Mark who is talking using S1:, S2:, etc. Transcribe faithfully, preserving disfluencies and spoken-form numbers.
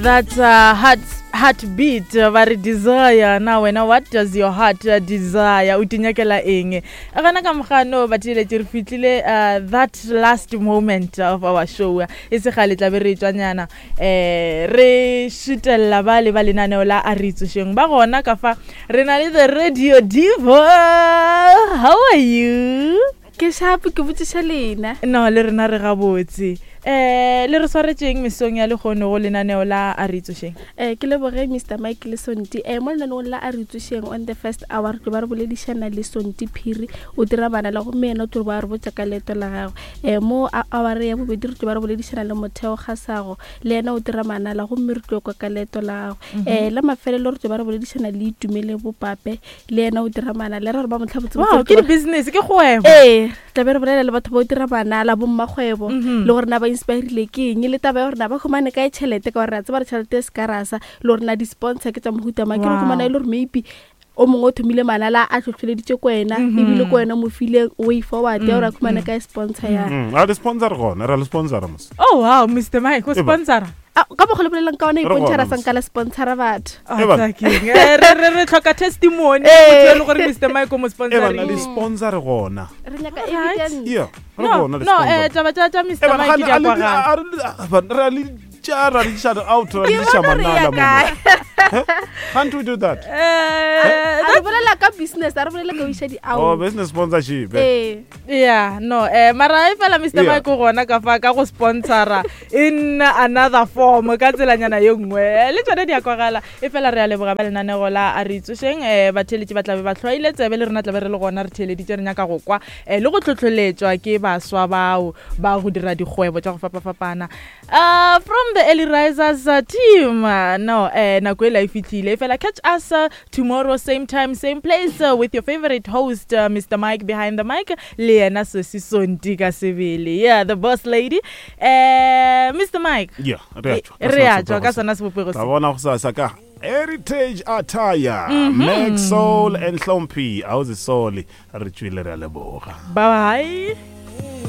S1: That's uh, heart heartbeat uh, ba re desire. Na wena, what does your heart uh, desire? O tinyakela eng gana ka mogano? Batheeletše, re fitlile uh, that last moment of our show. E se gale tlabe re tswanyana, um re šutelela ba le ba lenaneo la A Re Itsošeng. Ba gona ka fa, re na le the radio diva. How are you?
S2: Ke shapo, ke botšiša lena.
S1: No, le rena re gabotse. um le re swaretšeng mesong ya lekgono go lenaneo la A Re Itsošeng?
S2: um ke leboge Mister Mike le Sonti. um mo lenaneong la A Re Itsošeng, on the first hour re tlo ba re boledišana le Sonti Phiri, o dira bana la, gomme yena o tlo ba re botša ka leeto la gagwe. um mo hour ya bobedi re tlo ba re boledišana le Motheo Kgasago, le yena o dira manala, gomme re tlo kwa ka leeto la gagwe. um la mafelelo re tlo ba re boledišana le Itumele Bopape, le yena o dira manala. Le re gore ba motlhabotse.
S1: Wow, ke di-business, ke kgwebo.
S2: Ee, tlabe re bolela le batho ba o dira manala, bommakgwebo,
S1: Mhm.
S2: le gore na ba inspirile ke eng, le taba ya gore na ba humane kae tšhelete, ka gore re a tseba re tšhelete e se ka rasa, le gore na di-sponsor ke tša mohuta mang. Ke re
S1: Wow.
S2: humana e le gore maybe o mongwe o thomile manala a tlhotlheleditše ko wena,
S1: Mhm.
S2: ebile ko wena mo file way forward ya gore a humane
S1: mm.
S2: kae sponsor ya.
S3: Mm, a le sponsor gona, ra le sponsora mos.
S1: Oh wow, Mister Mike o
S3: Eba.
S1: sponsora.
S2: Ah, ka mokgwa le bolelang ka ona,
S3: Re
S2: ipontšha ra
S3: gona, mos.
S2: sanka la sponsora batho.
S1: Ah,
S3: Eba.
S1: tsa keng? Eh, re re re tlhoka testimony,
S2: Eh.
S1: motho e le gore Mister Mike o mo
S3: E bana le
S1: sponsoring.
S3: sponsor gona.
S2: Re nyaka
S1: Alright.
S2: evidence.
S3: Yeah, re
S1: No,
S3: gona le
S1: no, eh
S3: sponsor.
S1: taba tša tša Mister
S3: Eh, bana,
S1: Mike di
S3: ga
S1: a
S3: le- a le-
S1: kwagala.
S3: a re- a- bana, re a le tša, ra le iša out, ra le
S2: Ke
S3: iša
S2: bona re ya
S3: manala mo.
S2: kae.
S3: Can't we do that?
S1: Eh,
S2: A re bolela ka business, a re bolela ka o iša
S3: Oh,
S2: di-out.
S3: business sponsorship, eh.
S2: Ee.
S1: Yeah, no, eh mara e fela Mister
S3: Yeah.
S1: Mike o gona ka fa ka go sponsora in another form, ka tselanyana ye nngwe. Eh, le tsone di a kwagala. E fela re a leboga ba lenanego la A Re Itsošeng. um batheeletši ba tlabe ba tlhwaile tsebe, le rena tlabe re le gona re theeleditše, re nyaka go kwa um le go tlhotlholetšwa ke baswa bao ba go dira dikgwebo tša go fapafapana. uh, from the Early Risers uh, team, uh, no, eh nako e la e fitlhile. E fela catch us uh, tomorrow, same time, same place, uh, with your favorite host, uh, Mister Mike behind the mic, le yena Sesi Sonti ka sebele, yeah, the boss lady. uh, Mister Mike.
S3: Yeah, re a tšwa ka
S1: Re
S3: sona
S1: a tšwa ka
S3: sebopego se.
S1: sona sebopego
S3: Tla
S1: se.
S3: bona gosasa ka heritage attire,
S1: Mhm.
S3: Mac Soul and Hlomphi. Awuzisoli, re tswile, re a leboga.
S1: Bye bye.